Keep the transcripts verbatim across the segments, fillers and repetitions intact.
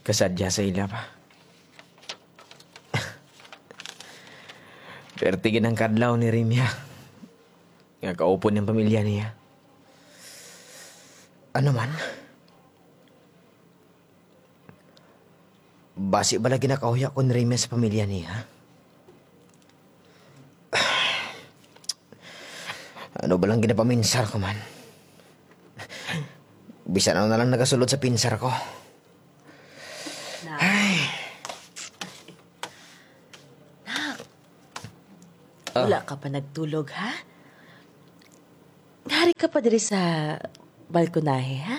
Kasadya sa ila pa. Perti gid ang kadlaw ni Rimia nga kaupod ang pamilya niya. Ano man? Basi bala ginakauya ko ni Rimia sa pamilya niya? Ano ba lang ginapaminsar ko man? Bisan ano na lang nagasulod sa pinsar ko. Nak. Ay. Nak. Ah. Wala ka pa nagtulog, ha? Hari ka pa diri sa balkonahe, ha?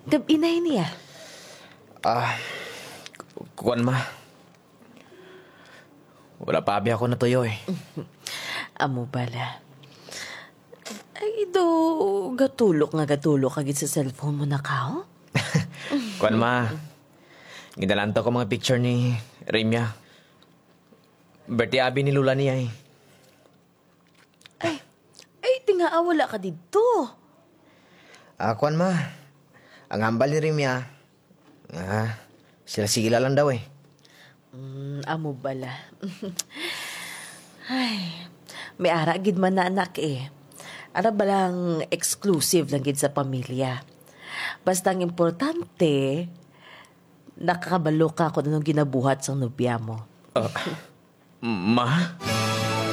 Gab-i na ini, ah. Ah, ku-, kuwan, ma. Wala pa abi ako natuyo, eh. Amo bala. Ay, do, gatulok nga gatulok ka gid sa cellphone mo na ka, oh? Kuwan, ma. Ginalantaw ko mga picture ni Rimia. Birthday abi ni Lola niya, eh. Ay, ay, tingaa wala ka didto. Ah, kuwan, ma. Ang hambal ni Rimia, ah, sila-sila lang daw, eh. Mm, amo bala. Ay, may ara gid man na, anak, eh. Ara balang exclusive lang gid sa pamilya. Basta ang importante, nakakabalo ka kung anong ginabuhat sang nobya mo. Ah, ma?